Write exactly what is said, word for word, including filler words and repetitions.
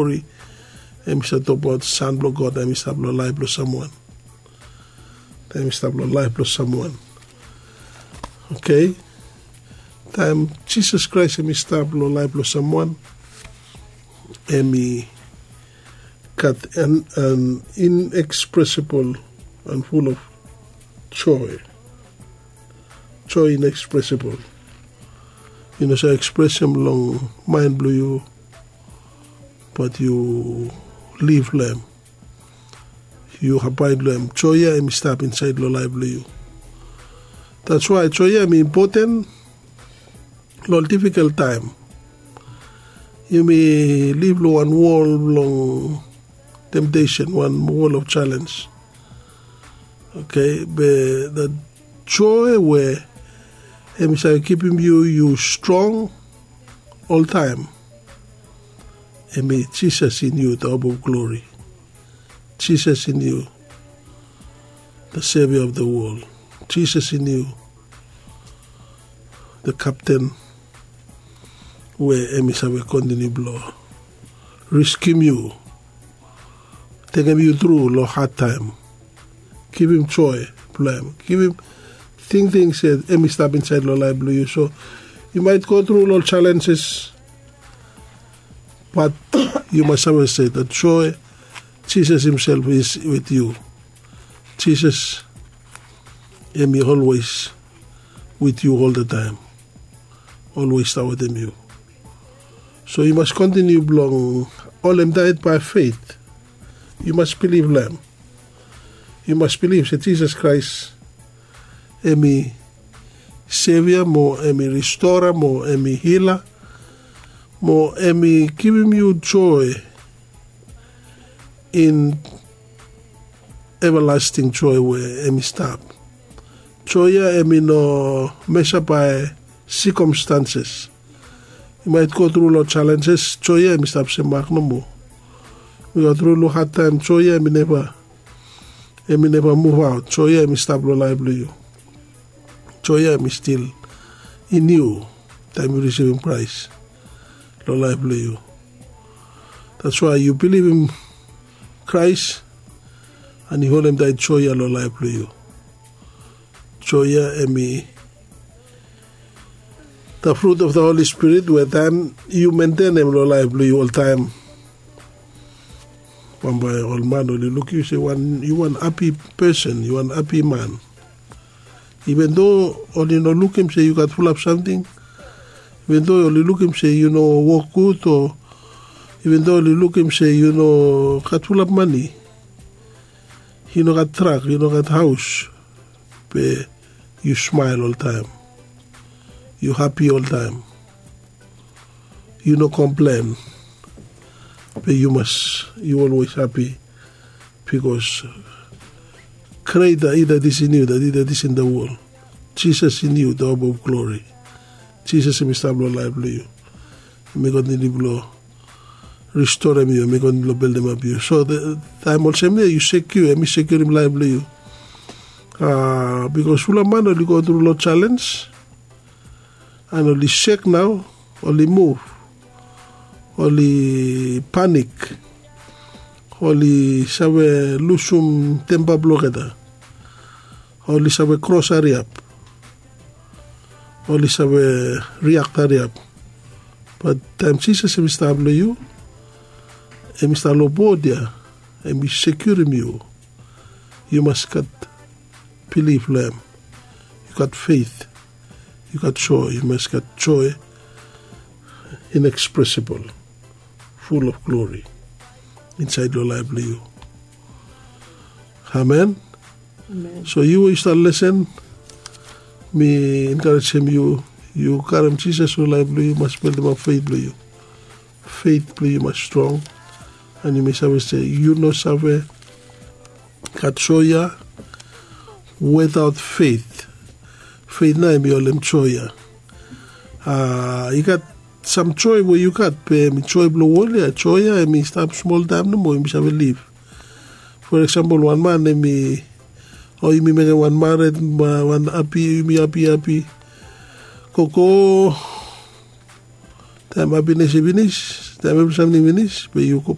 Glori. Em i stap tokbaot san blong God em i stap long laip blong samwan. Em i stap long laip blong samwan. Oke. Taem Jisas Kraes em i stap long laip blong samwan, em i gat an inexpresibol an ful of joe. Joe inexpresibol. Yu no save ekspresem long maen blong yu, bat yu liv long em. Yu abaed long em. Joe ya em i stap insaed long laef blong yu. Dats wae joe ya em i impoten long difikol taem. Yumi liv long wan wol blong temtesen, wan wol of jalenj. Oke, be dat joe we em i save kipim yu yu strong oltaem, em i Jisas in yu, the hope of glory. Jisas in yu, the savior of the world. Jisas in yu, the captain, we em i save kontiniu blong riskim yu, tekem yu tru long had taem. Givim joe blong em, givim tingting se em i stap insaed long laef blong yu. So yu maet go tru long jalenjes, bat yu mas save se dat joe, Jisas himself is wit yu. Jisas em i olwes wit yu oltataem, olwes stap wetem yu. So yu mas kontiniu blong holem taet bae fet. Yu mas bilif long em. Yu mas bilif se Jisas Kraes em i sevia mo em i ristora mo em i hila mo em i givim yu joe in evalasting joe we em i stap. Joe ya em i no mesa bae sikomstanses. Yu maet go tru long jalenjes, joe ya em i stap semak nomo. Yu go tru long had taem, joe ya em i neva em i neva muvaot. Joe ya em i stap long laef blong yu. Joe ya em i stil in yu taem yu risivim Kraes long laef blong yu. Dats wae yu bilivim Kraes, an yu holem taet joe ya long laef blong yu. Joe ya em i the fruit of the Holy Spirit we taem yu mentenem long laef blong yu oltaem, bambae ol man oli lukim yu se yu wan hapi pesen, yu wan hapi man. Iven do oli no lukim se yu gat fulap samting, iven do oli lukim se yu no wok gud, o iven do oli lukim se yu no gat fulap mane, yu no gat trak, yu no gat haos, be yu smael oltaem, yu hapi oltaem. Yu no komplen, be yu mas, yu olwes hapi, bikos greta i dat is in yu dat i dat is in da wol. Jisas in yu, da hope of glori. Jisas em i stap long laef blong yu. Em i kontiniu blong ristorem yu, em i kontiniu blong beldemap yu. So taem olsem ya yu sekiu, em i sekiurim laef blong yu. Bikos fulap man oli go tru long jalenj, an oli sek nao, oli muv, oli panik, oli save lusum tempa blong olgeta, oli save kros hariap, oli save riak hariap. Bat taem Jisas em i stap long yu, em i stap long bod ya, em i sekiurim yu. Yu mas gat bilif long em. Yu gat feit, yu gat joe, yu mas gat joe inekspresibol, ful of glori insaed long laef blong yu. Amen. So yu we yu stap lesen, mi enkarejem yu, yu karem Jisas long laef blong yu, yu mas beldemap feit blong yu. Feit blong yu mas strong, an yumi save se yu no save gat joe ya wetaot feit. Feit nao em i holem joe ya. I gat sam joe we yu gat, be em i joe blong wol ya. Joe ya em i stap smol taem nomo, yumi save liv. For eksempel, wan man em i, o yumi mekem wan mared, wan hapi, yumi hapi hapi, gogo, taem hapines i finis, taem evri samting finis be yu go